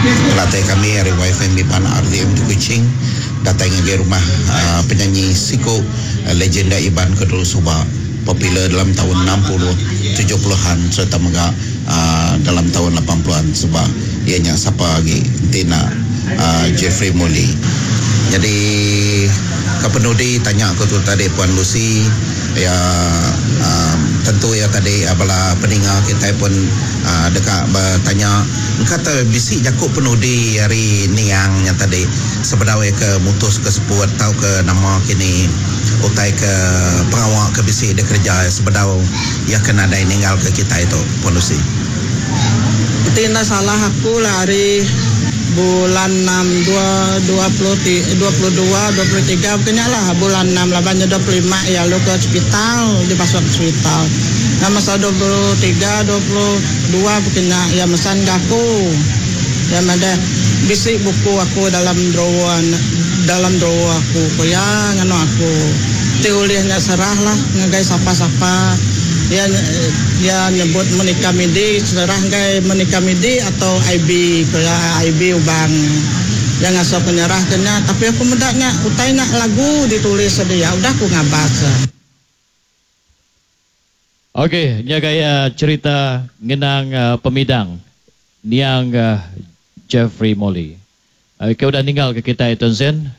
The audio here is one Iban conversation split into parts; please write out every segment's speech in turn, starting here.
Penatai kami ari YFM Iban RTM di Kuching datai ngagai rumah penyanyi siku legenda Iban ke dulu suba popular dalam taun 60, 70-an sereta mega dalam taun 80-an suba iya nya sapa agi enti enda Jeffrey Muli. Nyadi ke penudi tanya ku tu tadi Puan Lucy iya tentu iya tadi bala peninga kitai pun deka betanya engka te bisi jaku penudi ari niang nya tadi sebedau iya ke mutus ke seput tauka nama kini utai ke pengawa ke bisi dikereja iya sebedau iya ke nadai ninggalka kitai tu, Puan Lucy. Enti enda salah aku lah ari bulan enam dua 22 23 baka nya lah bulan enam laban nya 25 iya lalu ke hospital dipasuk ke hospital. Nya masa 23 22 baka nya iya mesan ga aku. Iya madah bisi buku aku dalam drawer dalam drawer aku ku iya nganu aku. Ti ulih nya serah lah ngagai sapa-sapa. Iya iya nyebut Monica Midi serah ngagai Monica Midi atau IB ku iya IB Ubang. Iya ngasuh aku nyerah ke nya tapi aku meda nya utai nya lagu ditulis dia udah ku ngabas. Ok, nya gaya cherita ngenang pemidang niang Jeffrey Molly. Ke udah ninggal ke kitai Tun Sen,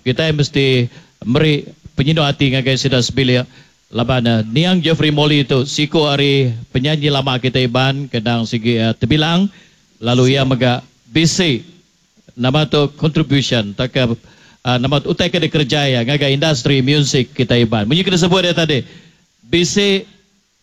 kitai mesti meri penyinu ati ngagai sida sebilik laban niang Jeffrey Molly tu siku ari penyanyi lama kitai Iban ke endang sigi tebilang lalu iya mega bisi Nama tu contribution tauka nama tu utai ke dikereja iya ngagai industri musik kitai Iban. Munyi ke disebut iya tadi, bisi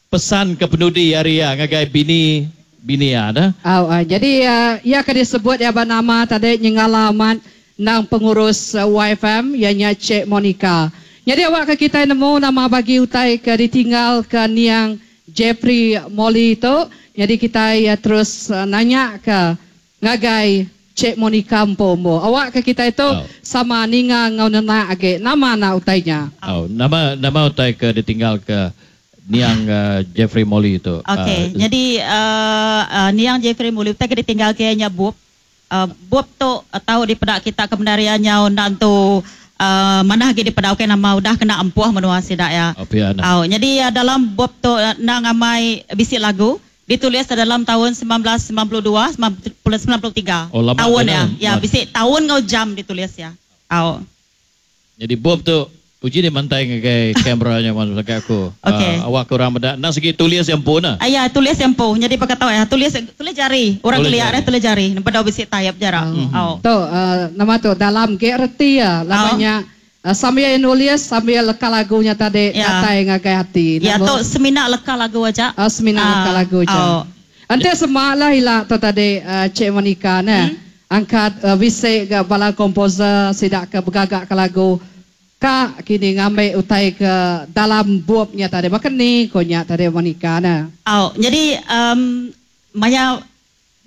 pesan ke penudi ari iya ngagai bini bini iya dah. Au, jadi iya ke disebut iya ba nama tadi nyengala amat endang pengurus YFM iya nya Cik Monica. Nyadi awakka kitai nemu nama bagi utai ke ditinggalka niang Jeffrey Molly tu, nyadi kitai terus nanyaka Ngagai Cik Monica empu embu. Awak ke kitai tu sama ninga enggau nenak agi nama anak utai nya. Au, nama nama utai ke ditinggal ke niang Jeffrey Molly tu? Okey, nyadi niang Jeffrey Molly utai ke ditinggal ke iya nya bup. Bup tu tau dipeda kita ke bendar iya nyau enda entu manah agi dipeda ukai nama udah kena ampuh menua sida iya. Au pia nah. Au, nyadi dalam bup tu enda ngamai bisi lagu. Ditulis dalam taun 1992, 93. Oh lama Taun tu iya. dah. Ya, bisi taun enggau jam ditulis iya. Au. Nyadi bup tu uji deh mantai ngagai kamera nya mun ngagai aku. Okey. Awak ke orang meda endang sigi tulis iya empu neh. Iya, tulis iya empu. Nyadi baka tau iya tulis tulis jari. Orang Tulis kelia jari. deh tulis jari. Bedau bisi taip jara. Au. Tu nama tu dalam ge reti iya laban Au. nya Sambil iya nulis sambil leka lagu nya tadi datai ngagai ati. Ya tu semina leka lagu aja. Oh semina leka lagu aja. Enti sema lah ila tu tadi Cik Monica neh angkat bisi ga bala komposer sida ke begaga ke lagu ka kini ngambi utai ke dalam bup nya tadi baka ni ko nya tadi Monica neh. Au nyadi maya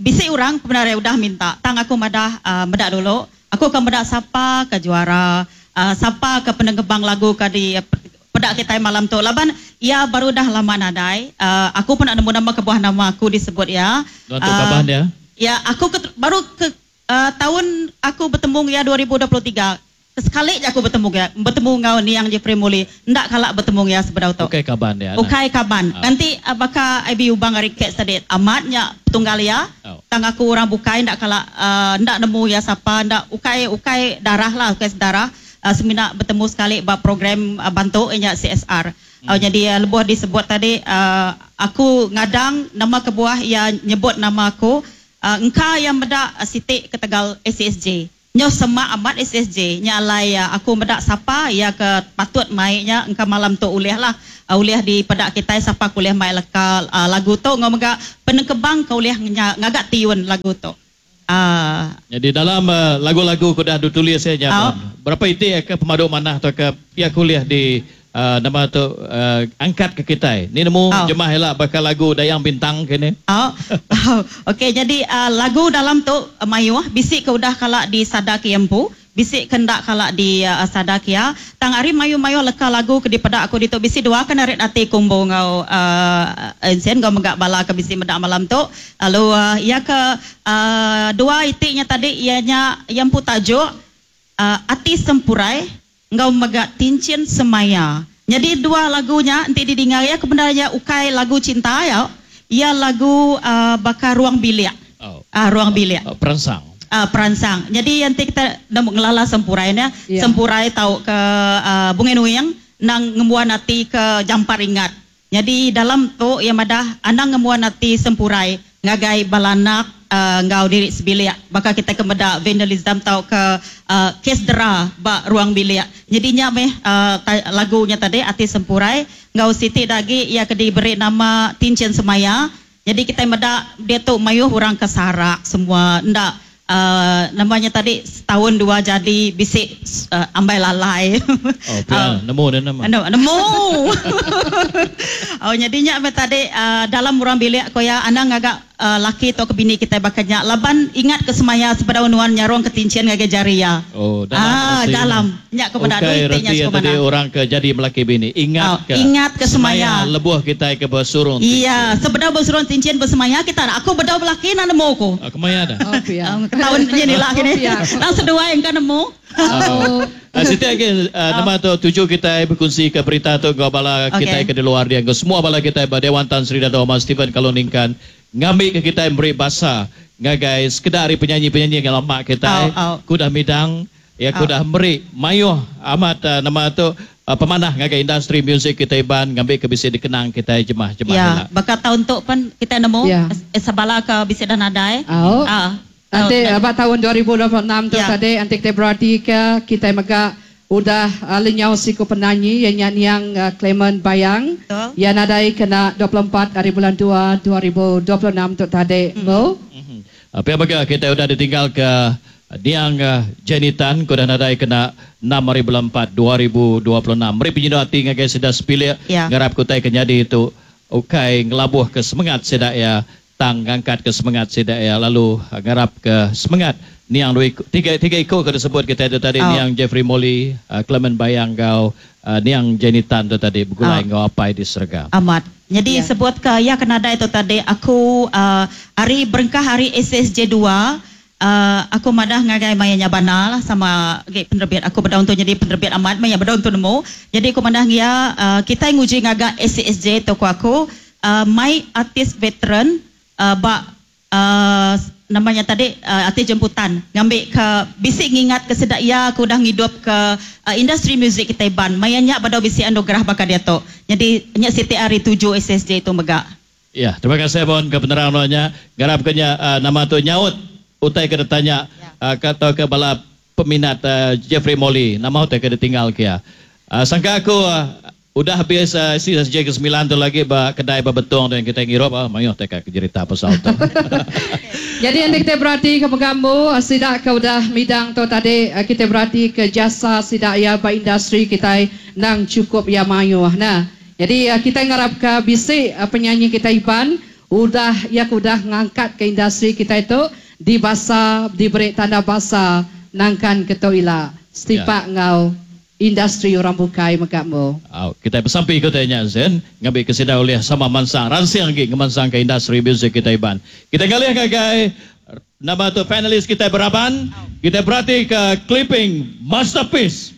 Bisi orang pemendar udah minta tang aku madah meda dulu. Aku ka meda sapa ka juara, sapa ka penengkebang lagu ka di peda kitai malam tu laban iya baru dah lama nadai. Aku pun enda nemu nama kebuah nama aku disebut iya. Nuan tu kaban iya? Ya aku ke baru ke taun aku betemu iya 2023. Sekali ja aku betemu iya, betemu enggau niang Jeffrey Muli, enda kala betemu iya sebedau tu. Ukai kaban iya nah. Ukai kaban. Enti baka IB Ubang ari Cats tadi, amat nya petunggal iya, tang aku orang bukai enda kala enda nemu iya sapa, enda ukai ukai darah lah, ukai sedarah, semina betemu sekali ba program bantu iya nya CSR. Nyadi lebuh disebut tadi aku ngadang nama kebuah iya nyebut nama aku, engka iya meda siti ketegal ACSJ. Nyau semak amat SSJ, nya alai aku meda sapa iya ke patut mai nya engka malam tu ulih lah ulih dipeda kitai sapa ke ulih mai leka lagu tu enggau mega penengkebang ke ulih ngaga tiun lagu tu. Nyadi dalam lagu-lagu ke udah ditulis iya nya pun berapa iti ke pemadu manah tauka iya ke ulih di Nama tu angkat ke kitai. Ni nemu jemah ila baka lagu Dayang Bintang ke ni. Au. Okey jadi lagu dalam tu mayuh bisi ke udah kala disada ke iya empu, Bisi kendak kala di sada kia. Tang hari mayu-mayu leka lagu ke dipedak aku ditu bisi dua kena rit ati kumbu ngau ensen ngau megak bala ke bisi medak malam tu. Lalu ia ke dua itiknya tadi ianya yang putajuk Ati Sempurai ngau megak Tincin Semaya. Jadi dua lagunya enti didengar ia kebenarnya ukai lagu cinta ya. Ia lagu bakar ruang bilik. Oh. Ruang bilik. Peransang. Peransang. Jadi nanti kita nemu ngelala Sempurai ni. Yeah. Sempurai tau ke Bungai Nuing nang ngembuan hati ke Jampar Ingat. Jadi dalam tu ia madah anang ngembuan hati Sempurai ngagai balanak ngau diri sebilik. Baka kita ke meda vandalism tau ke kes dera ba ruang bilik. Jadinya meh lagunya tadi Ati Sempurai ngau Siti dagi ia ke diberi nama Tincin Semaya. Jadi kita meda dia tu mayuh orang ke sarak semua ndak namanya tadi setahun dua jadi bisik ambai lalai. Oh, pia, nemu dia nama. Nemu. Oh, jadinya apa tadi dalam orang bilik ko ya anang agak laki atau ke bini kita bakanya laban ingat ke semaya sepeda unuan nyarong ke tincin ngagai jari ya. Oh, dalam. Dalam. Nyak kepada okay, reti yang tadi orang ke jadi melaki bini. Ingat ke ingat ke semaya. Lebuh kita ke bersurung. Iya, sepeda bersurung tincin bersemaya kita aku bedau belaki nak nemu ko. Kemaya dah. Oh, pia. Tahun ni lah kini. Langsung dua yang kan nemu. Siti lagi nama tu tuju kita berkongsi ke berita tu ke bala kita ke di luar dia ke semua bala kita ba Dewan Tan Sri Dato' Ahmad Stephen Kalong Ningkan ngambil ke kita beri basa ngagai sekedar penyanyi-penyanyi yang lama kita kudah midang ya kudah meri mayuh amat nama tu pemanah ngagai industri muzik kita iban ngambil ke bisi dikenang kita jemah-jemah ya bakal tahun tu pun kita nemu sebala ke bisi dan nadai. Nanti abad tahun 2026 tu tadi nanti kita berarti ke kita megak udah lenyau siku penyanyi yang nyanyi yang Clement Bayang yang nadai kena 24 hari bulan 2 2026 tu tadi bo. Apa baga kita udah ditinggal ke Niang Jenny Tan kudah nadai kena 6 hari bulan 4 2026. Meri penyidu hati ngagai sedah sepilih ngarap kutai kenyadi itu ukai ngelabuh ke semangat sedak ya tang ngangkat ke semangat sedak ya lalu ngarap ke semangat Niang dua tiga ikut ke disebut kita itu tadi Niang Jeffrey Molly, Clement Bayang kau Niang Jenny Tan tu tadi bergulai ngau apai di serga. Amat. Jadi sebut ke ya kena ada itu tadi aku hari berengkah hari SSJ 2 aku madah ngagai mayanya bana lah sama penerbit aku berdaun tu jadi penerbit amat maya berdaun tu nemu. Jadi aku madah ya kita nguji ngagak SSJ toko aku my artis veteran ba namanya tadi artis jemputan ngambil ke bisik ngingat ke sedak ya aku dah ngidup ke industri muzik kita iban mayanya pada bisik anugerah bakal dia tu. Jadi nya Siti hari 7 SSJ itu megak. Ya, terima kasih bon ke penerangannya. Garap kenya nama tu nyaut utai kena tanya kata ke bala peminat Jeffrey Molly nama utai kena tinggal kia. Sangka aku udah habis SSJ ke-9 tu lagi ba kedai ba betong tu yang kita ngirup mayuh tak ke cerita pasal tu. Jadi yang kita berarti ke pegambu sidak ke udah midang tu tadi kita berarti ke jasa sidak ya ba industri kita nang cukup ya mayuh. Nah, jadi kita ngarap ke bisik penyanyi kita Iban udah ya udah ngangkat ke industri kita itu di basa diberi tanda basa nangkan ketua setipak ngau industri orang bukai megakmu. Oh, kita bersampai ikut tanya Zen, ngambil kesida oleh sama mansang ransing lagi ngemansang ke industri muzik kita Iban. Kita ngalih gagai nama tu finalis kita beraban, kita berarti ke clipping masterpiece.